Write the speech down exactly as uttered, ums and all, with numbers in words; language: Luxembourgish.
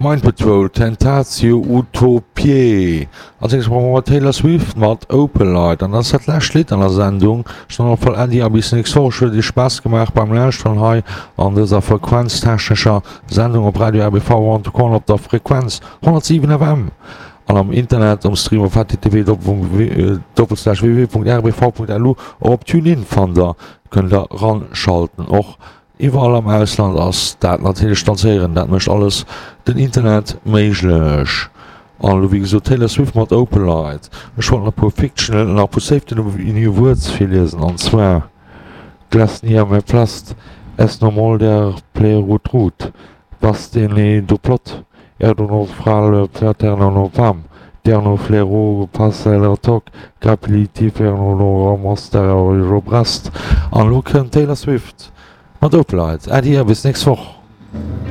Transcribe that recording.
Mind Patrol, Tentatio Utopiae. Als nächstes brauche mer Taylor Swift mat Opalite. An dat ass dat lescht Lidd an der Sendung. Ech soen op alle Fall Äddi a bis nächst Woch. Ech huet Iech Spaass gemaach beim Lauschteren hei an dëser frequenztechnescher Sendung op Radio R B V One to Call op der Frequenz honnertsiwen F M an am Internet um Stream op H T T P doppelslash W W W Punkt R B V Punkt L U. Och op TuneIn fannt der, kënnt der ranschalten. Och iwwerall am Ausland ass dat natierlech dann ze héieren. Dat mécht alles den Internet méiglech. An elo wéi gesot Taylor Swift mat Opalite. Ech wollt nach e puer Fictional an nach e puer Safety New Words virliesen, an zwar Glasniameplast, Esnomolder Plerutrut, Bastenedoplot, Erdonofrale Platernonopam, Dernoflero Passelertok, Grapilitifernolomasterobrest. An elo kënnt Taylor Swift mat Opalite. Äddi a bis nächst Woch.